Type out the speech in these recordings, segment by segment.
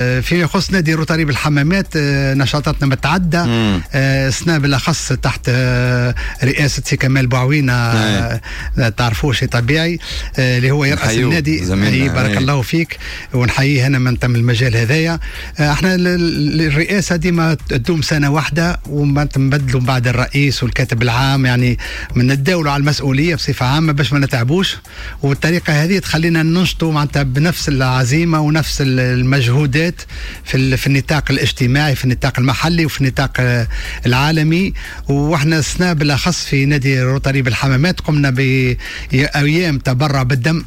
فيما يخص نادي روتاري بالحمامات، نشاطاتنا متعددة. السنة بالاخص تحت رئاسة سي كمال بوعوينه، تعرفوه شيء طبيعي، اللي هو يرأس النادي. بارك الله فيك ونحييه انا من تم المجال هذايا. احنا الرئاسة ديما تدوم سنة واحدة وما نبدلوا بعد الرئيس والكاتب العام، يعني من نتداولوا على المسؤولية بصفة عامة باش ما نتعبوش، والطريقة هذه تخلينا ننشطوا معناتها بنفس العزيمة ونفس المجهودات في النطاق الاجتماعي، في النطاق المحلي وفي النطاق العالمي. واحنا السنة بالاخص في نادي روتاري بالحمامات قمنا بايام تبرع بالدم.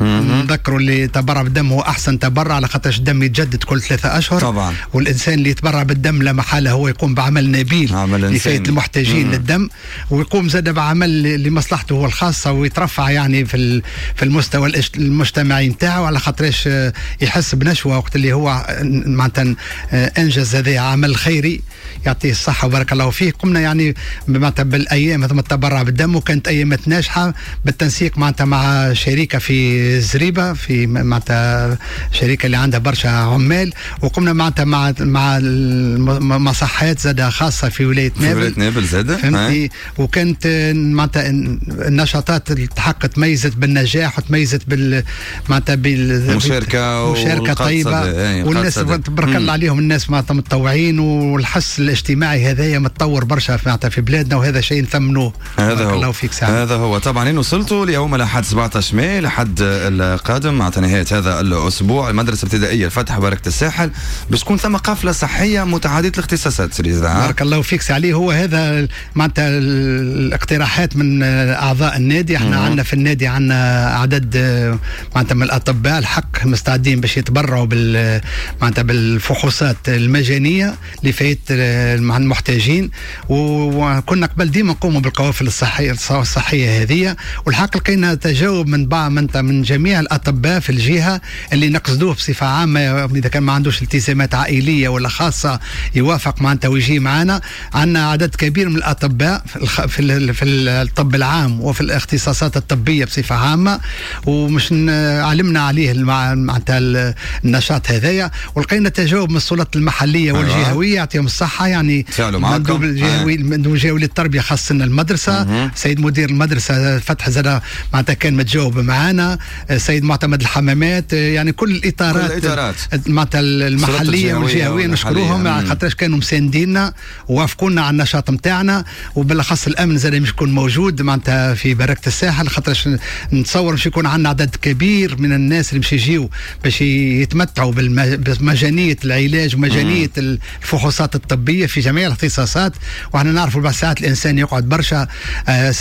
نذكروا اللي تبرع بالدم هو احسن تبرع، على خاطرش الدم يتجدد كل 3 اشهر. والانسان اللي يتبرع بالدم لا محالة هو يقوم بعمل نبيل لفائدة المحتاجين للدم، ويقوم زاد بعمل لمصلحته هو الخاصه، ويترفع يعني في المستوى المجتمعي نتاعو، على خاطرش يحس بنشوه وقت اللي هو معناتها انجز هذا عمل خيري. يعطيه الصحة وبارك الله فيه. قمنا يعني معناتها بالايام هذوما التبرع بالدم، وكانت ايامات ناجحة بالتنسيق معناتها مع شركة في زريبه، في معناتها شركة اللي عندها برشا عمال، وقمنا معناتها مع المصحات زاد خاصة في ولاية نابل. في ولاية نابل زاد. فهمتني، وكانت معناتها النشاطات الحق تميزت بالنجاح وتميزت معناتها بالمشاركة. مشاركة طيبه، والناس تبارك الله عليهم، الناس معناتها متطوعين، والحس الاجتماعي هذايا متطور برشا معناتها في بلادنا، وهذا شيء نثمنوه. هذا هو الله فيك سعد. هذا هو طبعا. وصلتوا ليوم الاحد 17 ماي، لحد القادم مع نهاية هذا الأسبوع، المدرسة الابتدائية الفتح بركة الساحل باش تكون ثم قافلة صحية متعددة الاختصاصات سي رضا. بارك الله فيك سي علي. هو هذا معناتها الاقتراحات من أعضاء النادي. احنا عندنا في النادي عندنا عدد معناتها من الأطباء الحق مستعدين باش يتبرعوا معناتها بالفحوصات المجانية لفائدة المحتاجين، وكنا قبل ديما نقوموا بالقوافل الصحيه هذه، والحق لقينا تجاوب من بعض من جميع الاطباء في الجهة اللي نقصدوه بصفة عامه، اذا كان ما عندوش التزامات عائلية ولا خاصة يوافق معناتها ويجي معنا. عندنا عدد كبير من الاطباء في الطب العام وفي الاختصاصات الطبية بصفة عامه، ومش علمنا عليه معناتها النشاط هذايا، ولقينا تجاوب من السلطات المحلية والجهويه، يعطيهم الصحه، يعني المندوب الجهوي، المندوب الجهوي للتربية خاصة المدرسه، سيد مدير المدرسة فتح زاد معناتها كان متجاوب معنا، سيد معتمد الحمامات، يعني كل الاطارات، كل الإطارات. معناتها المحلية والجهويه نشكروهم خاطرش كانوا مسانديننا ووافقونا على النشاط نتاعنا، وبالاخص الامن زاد مش يكون موجود معناتها في بركة الساحل، خاطرش نتصور مش يكون عندنا عدد كبير من الناس اللي مش يجيو باش يتمتعوا بمجانيه العلاج ومجانيه الفحوصات الطبية في جميع الاختصاصات. وحنا نعرفوا بعض ساعات الانسان يقعد برشا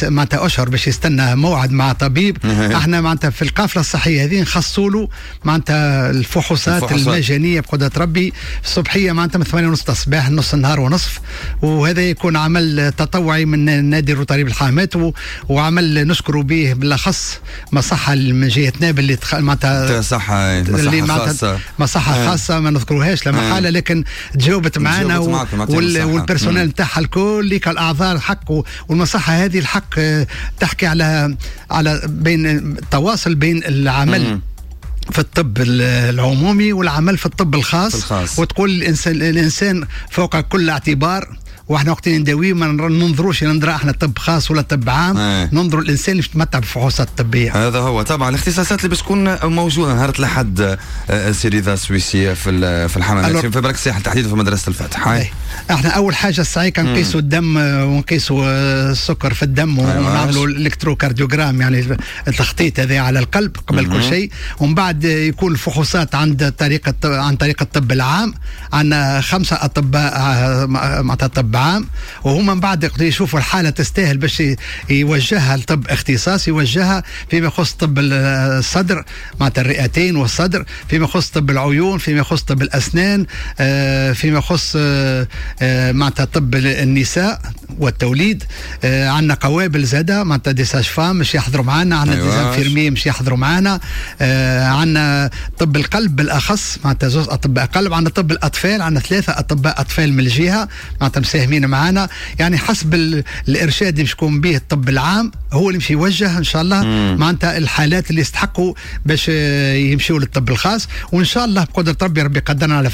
معناتها اشهر باش يستنى موعد مع طبيب. احنا معناتها في القافلة الصحية هذه نخصوا له معناتها الفحوصات المجانية بقدره ربي الصبحية معناتها من 8:30 الصباح نص النهار ونصف، وهذا يكون عمل تطوعي من نادي الروتاري بالحمامات، وعمل نشكر به بالاخص مصحه من جهة نابل اللي معناتها صحة اللي خاصه، مصحه خاصة ما نذكروهاش لا محاله، لكن تجاوبت معنا وال personnel نتاعها الكل كالاعضاء الحق. والمصحه هذه الحق تحكي على بين التواصل بين العمل في الطب العمومي والعمل في الطب الخاص، الخاص. وتقول الانسان فوق كل اعتبار، واحنا وقت نداويه ما ننظروش ننظر احنا طب خاص ولا طب عام، ننظروا الانسان اللي يتمتع بالفحوصات الطبيه. هذا هو طبعا. الاختصاصات اللي باش تكون موجودة نهار الاحد سي رضا السويسي في الحمامات، في برك الساحل تحديدا في مدرسه الفتح؟ هاي. احنا اول حاجة الساعة نقيسوا الدم ونقيسوا السكر في الدم ونعملوا ال électrocardiogramme، يعني التخطيط هذا على القلب قبل كل شيء، ومن بعد يكون الفحوصات عند طريقه عن طريق الطب العام. عندنا خمسة اطباء معناتها طب عام، وهما من بعد يشوفوا الحالة تستاهل باش يوجهها لطب اختصاص، يوجهها فيما يخص طب الصدر معناتها الرئتين والصدر، فيما يخص طب العيون، فيما يخص طب الاسنان، فيما يخص معناتها طب النساء والتوليد. عندنا قوابل زاده معناتها des sages-femmes مش يحضروا معنا، عندنا des infirmiers مش يحضروا معنا، عندنا طب القلب بالاخص معناتها زوز اطباء قلب، عندنا طب الاطفال، عندنا ثلاثة اطباء اطفال من الجهة معناتها مساهمين. متفاهمين معنا، يعني حسب الارشاد اللي باش يكون به الطب العام هو اللي باش يوجه ان شاء الله معناتها الحالات اللي يستحقوا باش يمشيوا للطب الخاص، وان شاء الله بقدره ربي، ربي قدرنا على فعل.